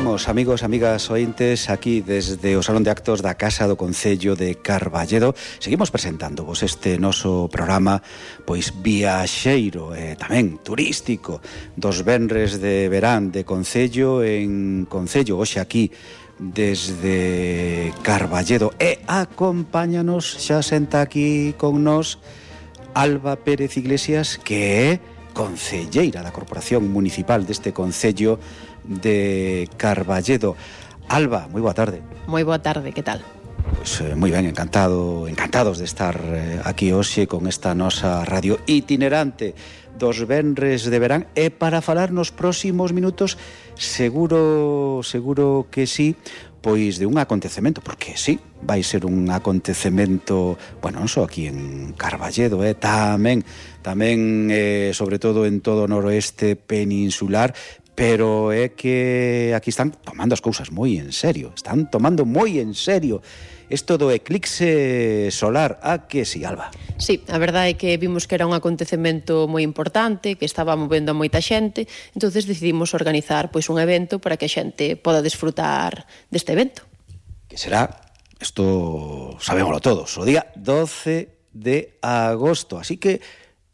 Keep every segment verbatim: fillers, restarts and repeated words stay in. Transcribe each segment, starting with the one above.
Seguimos, amigos, amigas ointes, aquí desde o Salón de Actos da Casa do Concello de Carballedo. Seguimos presentándoos este noso programa, pois viaxeiro e tamén turístico, dos venres de verán de Concello en Concello, hoxe aquí desde Carballedo. E acompáñanos, xa senta aquí con nós Alba Pérez Iglesias, que é concelleira da Corporación Municipal deste Concello de Carballedo. Alba, moi boa tarde. Moi boa tarde, que tal? Pois eh, moi ben, encantado, encantados de estar eh, aquí hoxe con esta nosa radio itinerante dos venres de verán, e para falar nos próximos minutos, seguro, seguro que sí, pois de un acontecemento, porque sí, vai ser un acontecemento, bueno, non só aquí en Carballedo, eh, tamén, tamén, eh, sobre todo en todo o noroeste peninsular, pero é que aquí están tomando as cousas moi en serio, están tomando moi en serio isto do eclipse solar. A que si, Alba? Sí, a verdade é que vimos que era un acontecemento moi importante, que estaba movendo a moita xente, entonces decidimos organizar pois un evento para que a xente poda desfrutar deste evento. Que será, isto sabémoslo todos, o día doce de agosto, así que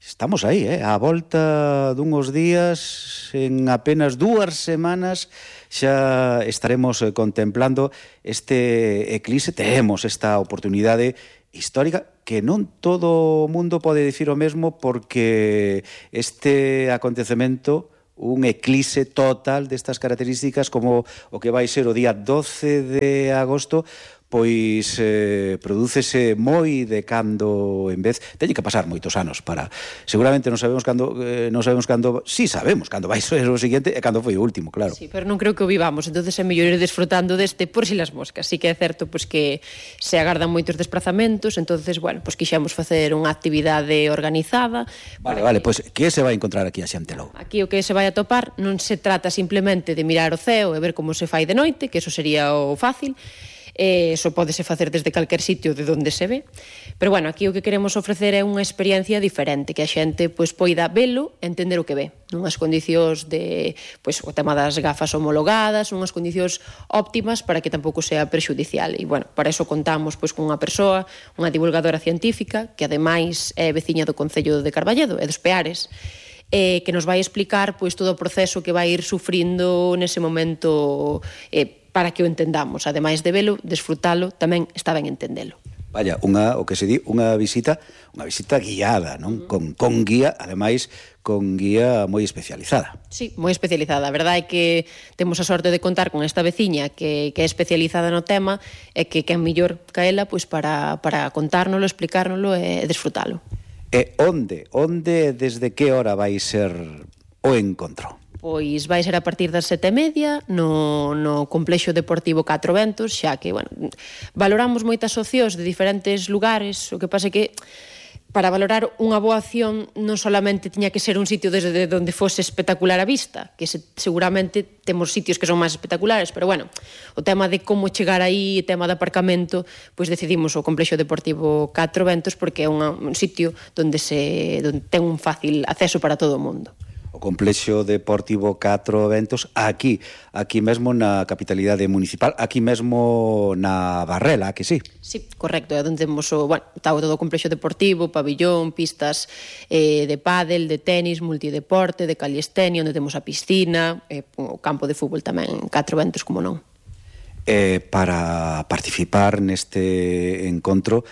estamos aí, eh? A volta dunhos días, en apenas dúas semanas, xa estaremos eh, contemplando este eclipse. Temos esta oportunidade histórica que non todo o mundo pode dicir o mesmo, porque este acontecemento, un eclipse total destas características como o que vai ser o día doce de agosto, pois eh, prodúcese moi de cando en vez. Teñe que pasar moitos anos para, seguramente non sabemos cando, eh, non sabemos cando, si sí sabemos cando vai ser o seguinte e cando foi o último, claro. Sí, pero non creo que o vivamos, entonces é mellor ir desfrutando deste por si las moscas. Sí que é certo pois que se agardan moitos desplazamentos, entonces, bueno, pois quixemos facer unha actividade organizada. Vale, vale, pois que se vai encontrar aquí a xente logo? Aquí o que se vai a topar non se trata simplemente de mirar o ceo e ver como se fai de noite, que eso sería o fácil. Eh, eso pódese facer desde calquer sitio de onde se ve, pero bueno, aquí o que queremos ofrecer é unha experiencia diferente, que a xente pois poida velo e entender o que ve, nunhas condicións de, pois o tema das gafas homologadas, unhas condicións óptimas para que tampouco sea perxudicial. E bueno, para eso contamos pois con unha persoa, unha divulgadora científica, que ademais é veciña do Concello de Carballedo e dos Peares, eh, que nos vai explicar pois todo o proceso que vai ir sufrindo nese momento, eh, para que o entendamos, ademais de velo, desfrutalo, tamén está ben entendelo. Vaya, unha, o que se di, unha visita, unha visita guiada, non? Uh -huh. Con, con guía, ademais, con guía moi especializada. Sí, moi especializada. A verdade é que temos a sorte de contar con esta veciña que, que é especializada no tema, e que quen mellor caela pois para, para contárnoslo, explicárnoslo e desfrutalo. E onde, onde, desde que hora vai ser o encontro? Pois vai ser a partir das sete e media no, no Complexo Deportivo Catro Ventos, xa que, bueno, valoramos moitas opcións de diferentes lugares, o que pasa é que para valorar unha boa acción non solamente tiña que ser un sitio desde onde fose espectacular a vista, que se, seguramente temos sitios que son máis espectaculares, pero bueno, o tema de como chegar aí, o tema de aparcamento, pois decidimos o Complexo Deportivo Catro Ventos porque é unha, un sitio onde, se, onde ten un fácil acceso para todo o mundo. O Complexo Deportivo Catro Ventos, aquí, aquí mesmo na capitalidade municipal, aquí mesmo na Barrela, que sí? Sí, correcto, é onde temos o, bueno, está todo o Complexo Deportivo, pabillón, pistas eh, de pádel, de tenis, multideporte, de calistenia, onde temos a piscina, eh, o campo de fútbol tamén, Catro Ventos, como non. Eh, para participar neste encontro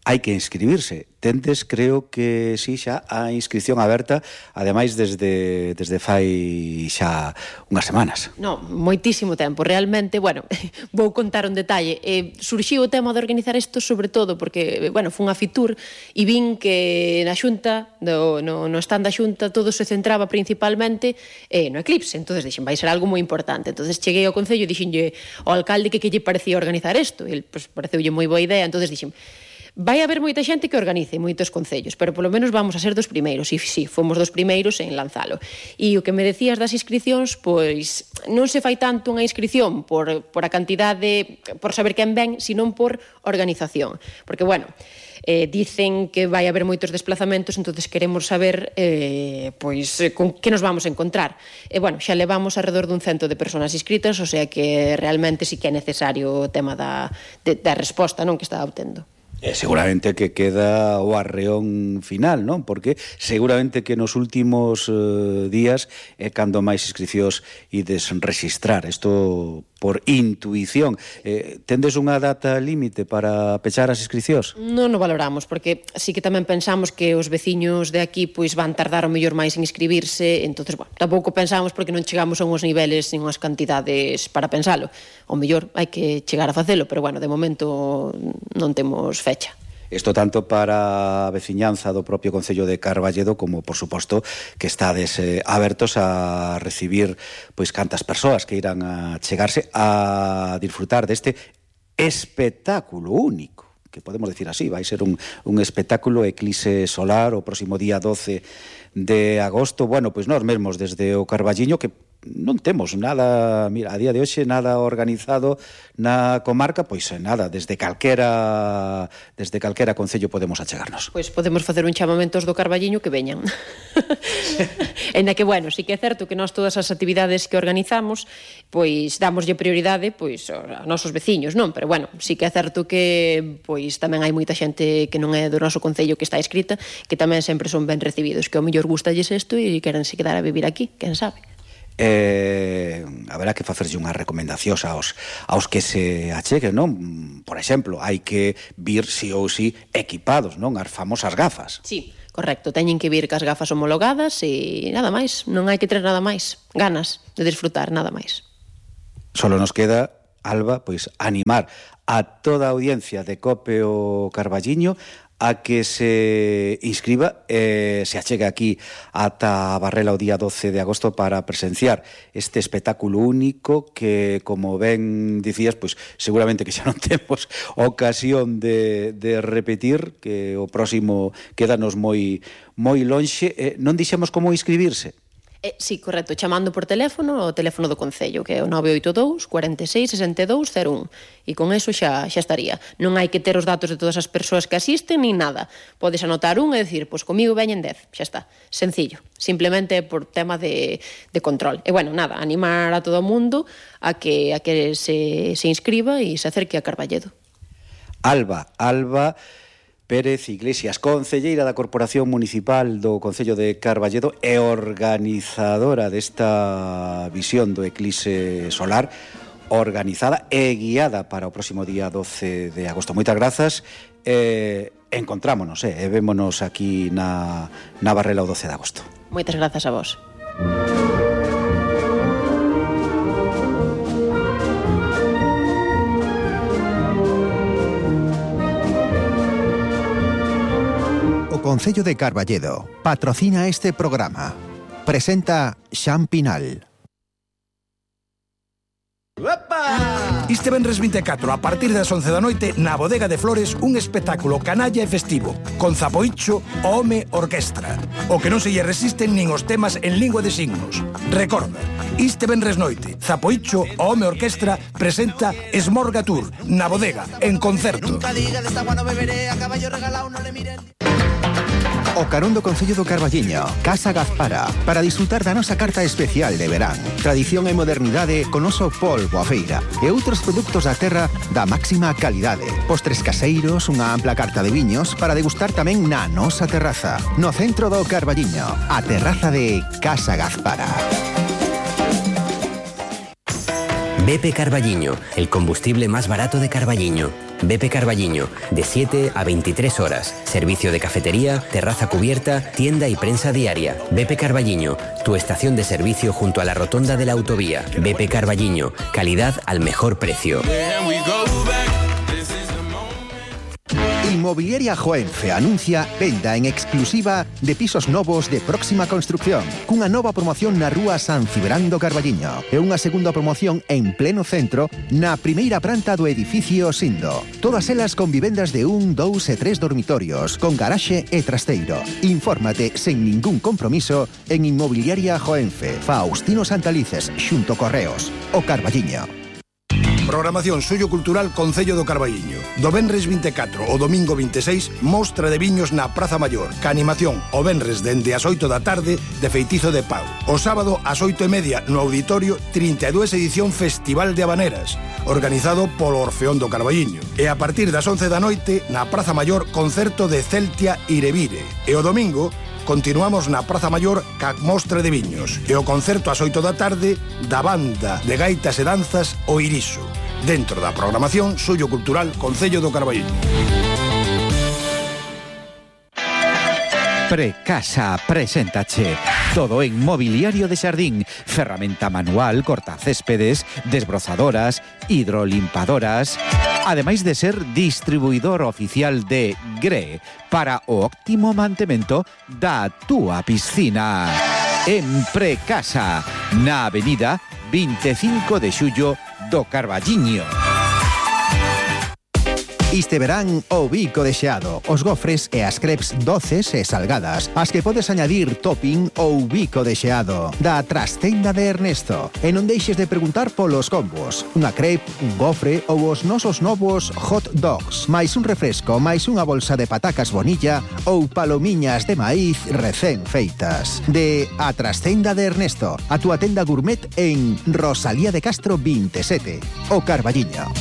hai que inscribirse. Tendes, creo que sí, xa a inscripción aberta, ademais desde, desde fai xa unhas semanas. No, moitísimo tempo, realmente, bueno, vou contar un detalle. Eh, surxiu o tema de organizar isto sobre todo porque, bueno, foi unha Fitur e vin que na xunta, no, no, no stand da xunta, todo se centraba principalmente eh, no eclipse, entonces dixen, vai ser algo moi importante. Entonces cheguei ao Concello e dixenlle ao alcalde que que lle parecía organizar isto, e el, pues, pareceulle moi boa idea, entonces dixen, Vai haber moita xente que organice moitos concellos, pero polo menos vamos a ser dos primeiros, e si, fomos dos primeiros en lanzalo. E o que me decías das inscripcións, pois non se fai tanto unha inscripción por, por a cantidade, por saber quen ven, sino por organización. Porque, bueno, eh, dicen que vai haber moitos desplazamentos, entonces queremos saber eh, pois con que nos vamos a encontrar. E, bueno, xa levamos alrededor dun cento de persoas inscritas, o sea que realmente sí que é necesario o tema da, de, da resposta, non, que está obtendo. E seguramente que queda o arreón final, non? Porque seguramente que nos últimos eh, días é cando máis inscripcións ides rexistrar. Isto por intuición. Eh, tendes unha data límite para pechar as inscripcións? Non o valoramos, porque sí que tamén pensamos que os veciños de aquí pois van tardar o mellor máis en inscribirse, entonces, bueno, tampouco pensamos porque non chegamos a unhos niveles nin unhas cantidades para pensalo. O mellor hai que chegar a facelo, pero, bueno, de momento non temos fecha. Isto tanto para a veciñanza do propio Concello de Carballedo como, por suposto, que estades eh, abertos a recibir pois cantas persoas que irán a chegarse a disfrutar deste espectáculo único, que podemos decir así, vai ser un, un espectáculo eclipse solar o próximo día doce de agosto. Bueno, pois nós mesmos desde o Carballiño, que non temos nada, mira, a día de hoxe nada organizado na comarca, pois nada, desde calquera desde calquera concello podemos achegarnos. Pois podemos facer un chamamento do Carballiño que veñan. En que, bueno, sí que é certo que nós todas as actividades que organizamos, pois damoslle prioridade pois aos nosos veciños, non? Pero, bueno, sí que é certo que pois tamén hai moita xente que non é do noso concello que está inscrita, que tamén sempre son ben recibidos, que ao mellor gustalles isto e querense quedar a vivir aquí, quen sabe. Eh, haberá que facerlle unhas recomendacións aos, aos que se acheguen, non? Por exemplo, hai que vir si ou si equipados, non? As famosas gafas. Sí, correcto, teñen que vir cas gafas homologadas e nada máis, non hai que ter nada máis, ganas de disfrutar, nada máis. Solo nos queda, Alba, pois animar a toda a audiencia de Cope o Carballiño a que se inscriba e eh, se achegue aquí ata Barrela o día doce de agosto para presenciar este espectáculo único que, como ben dicías, pois seguramente que xa non temos ocasión de, de repetir, que o próximo quédanos moi moi lonxe. Eh, non dixemos como inscribirse? Eh, sí, correcto, chamando por teléfono o teléfono do Concello, que é o nove oito dous, cuarenta e seis, sesenta e dous, cero un. E con eso xa, xa estaría. Non hai que ter os datos de todas as persoas que asisten, nin nada. Podes anotar un e dicir, pois comigo veñen dez, xa está. Sencillo, simplemente por tema de, de control. E, bueno, nada, animar a todo o mundo a que, a que se, se inscriba e se acerque a Carballedo. Alba, Alba Pérez Iglesias, concelleira da Corporación Municipal do Concello de Carballedo e organizadora desta visión do eclipse solar, organizada e guiada para o próximo día doce de agosto. Moitas grazas, e encontrámonos, eh, e vémonos aquí na, na Barrela o doce de agosto. Moitas grazas a vos. O Concello de Carballedo patrocina este programa. Presenta Xan Pinal. Este venres vinte e catro, a partir das once da noite, na Bodega de Flores, un espectáculo canalla e festivo, con Zapoicho, o Home Orquestra. O que non se lle resisten nin os temas en lingua de signos. Recorda, este venres noite, Zapoicho, o Home Orquestra, presenta Esmorga Tour, na Bodega, en concerto. Nunca diga de esta agua no beberé, a caballo regalado no le miren. O carón do Concello do Carballiño, Casa Gazpara, para disfrutar da nosa carta especial de verán. Tradición e modernidade con oso polvo a feira e outros produtos da terra da máxima calidade. Postres caseiros, unha ampla carta de viños para degustar tamén na nosa terraza. No centro do Carballiño, a terraza de Casa Gazpara. B P Carballiño, el combustible más barato de Carballiño. B P Carballiño, de siete a veintitrés horas. Servicio de cafetería, terraza cubierta, tienda y prensa diaria. B P Carballiño, tu estación de servicio junto a la rotonda de la autovía. B P Carballiño, calidad al mejor precio. Inmobiliaria Joenfe anuncia venda en exclusiva de pisos novos de próxima construcción, cunha nova promoción na rúa San Cibrán do Carballiño e unha segunda promoción en pleno centro na primeira planta do edificio Sindo. Todas elas con vivendas de un, dous e tres dormitorios, con garaxe e trasteiro. Infórmate sen ningún compromiso en Inmobiliaria Joenfe, Faustino Santalices, xunto Correos, o Carballiño. Programación Suyo Cultural Concello do Carballiño. Do venres vinte e catro ao domingo vinte e seis, mostra de viños na Praza Maior. Ca animación o venres dende as oito da tarde de Feitizo de Pau. O sábado ás oito e media no auditorio trinta e dúas edición Festival de Habaneras, organizado polo Orfeón do Carballiño. E a partir das once da noite na Praza Maior concerto de Celtia Irevire. E o domingo continuamos na Praza Maior ca mostra de viños e o concerto ás oito da tarde da banda de gaitas e danzas O Iriso, dentro da programación Suyo Cultural Concello do Carballiño. Precasa preséntache todo en mobiliario de xardín, ferramenta manual, cortacéspedes, desbrozadoras, hidrolimpadoras, ademais de ser distribuidor oficial de G R E para o óptimo mantemento da túa piscina. En Precasa, na avenida vinte e cinco de xullo do Carballiño. Este verán o bico de xeado, os gofres e as crepes doces e salgadas, as que podes añadir topping ou bico de xeado, da trastenda de Ernesto. E non deixes de preguntar polos combos, unha crepe, un gofre ou os nosos novos hot dogs, máis un refresco, máis unha bolsa de patacas bonilla ou palomiñas de maíz recén feitas. De a trastenda de Ernesto, a túa tenda gourmet en Rosalía de Castro vinte e sete, o Carballiño.